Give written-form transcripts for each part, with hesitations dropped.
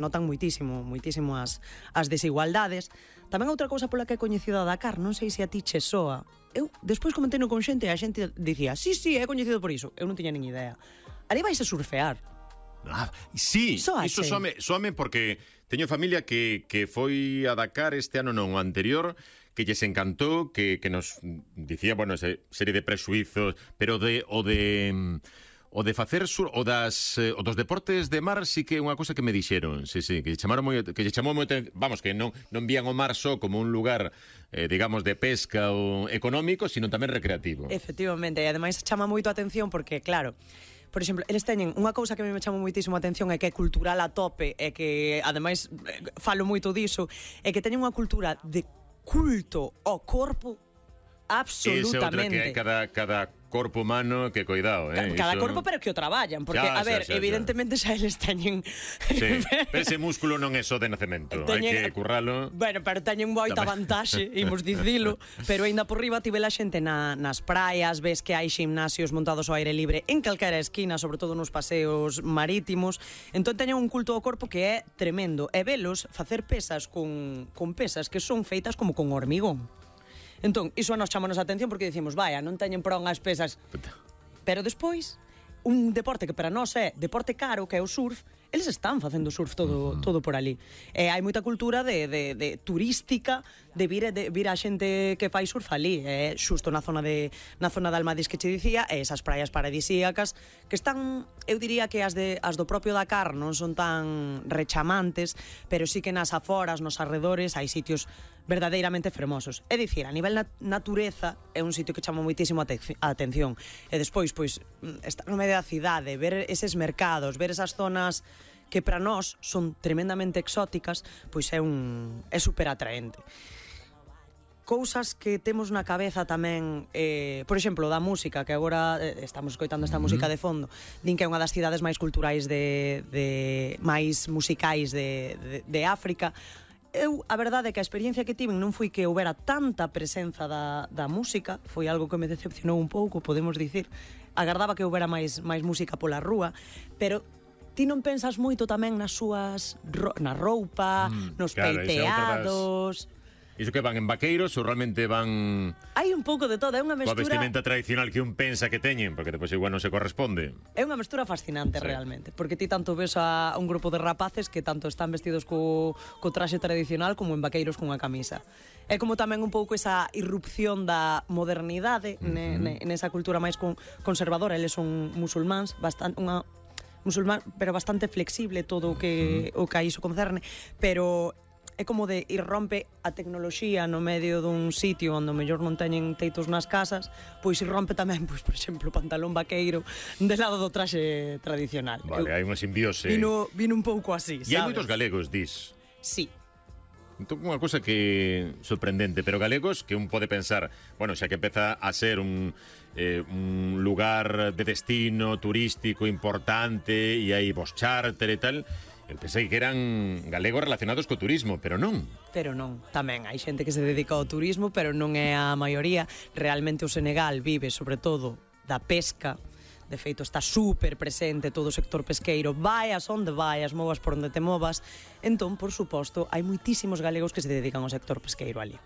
notan moitísimo as desigualdades. Tamén outra cousa pola que he coñecido a Dakar, non sei se a ti che soa. Eu despois comentei con xente e a xente dicía, sí, he coñecido por iso. Eu non tiña nin idea. Ali vais a surfear. Sí, iso soame porque teño familia que foi a Dakar este ano non, o anterior, que lles encantou, que nos dicía, bueno, esa serie de presuizos, pero o de facer dos deportes de mar sí que é unha cousa que me dixeron, sí, que lle chamou moito, vamos, que non vían o mar só como un lugar, digamos, de pesca ou económico, sino tamén recreativo. Efectivamente, e ademais chama moito a atención porque, claro, por exemplo, eles teñen unha cousa que a mí me chama moitísimo a atención, é que é cultural a tope, e que, ademais, falo moito diso, é que teñen unha cultura de culto ao corpo absolutamente. Ese outro que hai cada corpo humano que cuidado, Cada corpo, pero que o traballan, porque, evidentemente xa eles teñen... Sí, pero ese músculo non é só de nacemento, hai que curralo. Bueno, pero teñen moita vantaxe, imos dicilo, pero aínda por riba tive la xente nas praias, ves que hai ximnasios montados ao aire libre en calquera esquina, sobre todo nos paseos marítimos, entón teñen un culto ao corpo que é tremendo, e velos facer pesas con pesas que son feitas como con hormigón. Entón, iso nos chama a atención porque dicimos, vaya, non teñen prón as pesas. Pero despois, un deporte que para nós é deporte caro, que é o surf, eles están facendo surf todo por ali. Hai moita cultura de turística de vir a xente que fai surf ali, xusto na zona de Almadís que che dicía, e esas praias paradisíacas que están, eu diría que as do propio Dakar non son tan rechamantes, pero sí que nas aforas, nos arredores, hai sitios verdadeiramente fermosos. É dicir, a nivel natureza é un sitio que chama moitísimo a atención. E despois, pois, estar no medio da cidade, ver eses mercados, ver esas zonas que para nós son tremendamente exóticas, pois é super atraente. Cousas que temos na cabeza tamén, por exemplo, da música, que agora estamos escoitando esta música de fondo, din que é unha das cidades máis culturais máis musicais de África. Eu, a verdade é que a experiencia que tiven non foi que houbera tanta presenza da música, foi algo que me decepcionou un pouco, podemos dicir. Agardaba que houbera máis música pola rúa, pero ti non pensas moito tamén na roupa, nos peiteados. Iso que van en vaqueiros ou realmente van... Hai un pouco de todo, é unha mestura... Coa vestimenta tradicional que un pensa que teñen, porque depois igual non se corresponde. É unha mestura fascinante, realmente, porque ti tanto ves a un grupo de rapaces que tanto están vestidos co traxe tradicional como en vaqueiros cunha camisa. É como tamén un pouco esa irrupción da modernidade nesa cultura máis conservadora. Eles son musulmáns, pero bastante flexible todo o que a iso concerne, pero é como de irrompe a tecnoloxía no medio dun sitio onde o mellor non teñen teitos nas casas, pois irrompe tamén, pois, por exemplo, o pantalón vaqueiro de lado do traxe tradicional. Vale, hai unha simbiose. Vino un pouco así, sabes? E hai moitos galegos, dis. Sí. Entón, unha cousa que sorprendente, pero galegos que un pode pensar, bueno, xa que empeza a ser un lugar de destino turístico importante e hai vos charter e tal, eu pensei que eran galegos relacionados co turismo, pero non. Pero non, tamén hai xente que se dedica ao turismo, pero non é a maioría. Realmente o Senegal vive, sobre todo, da pesca. De feito, está super presente todo o sector pesqueiro. Vaias onde vaias, movas por onde te movas. Entón, por suposto, hai moitísimos galegos que se dedican ao sector pesqueiro ali.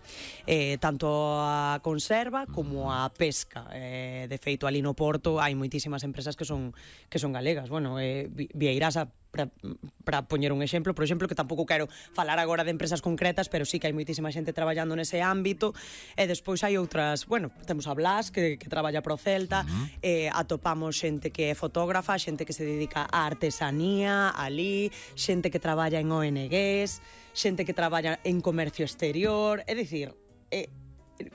Tanto a conserva como a pesca. De feito, ali no Porto hai moitísimas empresas que son galegas. Bueno, Vieirasa, para poñer un exemplo, por exemplo, que tampouco quero falar agora de empresas concretas, pero sí que hai moitísima xente traballando nese ámbito, e despois hai outras, bueno, temos a Blas que traballa pro Celta, atopamos xente que é fotógrafa, xente que se dedica á artesanía ali, xente que traballa en ONGs, xente que traballa en comercio exterior, é dicir,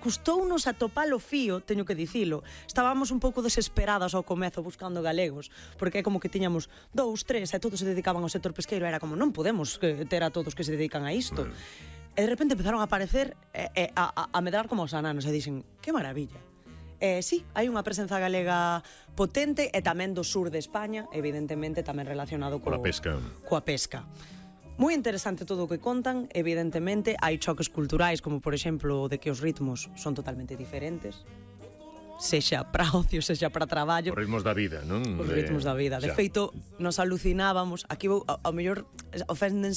custounos atopar o fío, teño que dicilo. Estábamos un pouco desesperadas ao comezo buscando galegos, porque é como que tiñamos 2, 3 e todos se dedicaban ao sector pesqueiro, era como non podemos ter a todos que se dedican a isto. E de repente empezaron a aparecer a medrar como os ananos e dixen, que maravilla. Sí, hai unha presenza galega potente e tamén do sur de España, evidentemente tamén relacionado coa pesca. Moi interesante todo o que contan, evidentemente hai choques culturais, como por exemplo de que os ritmos son totalmente diferentes. sexa para ocio, sexa para traballo. Os ritmos da vida, non? Os ritmos da vida. De feito, nos alucinábamos, aquí ao mellor oféndense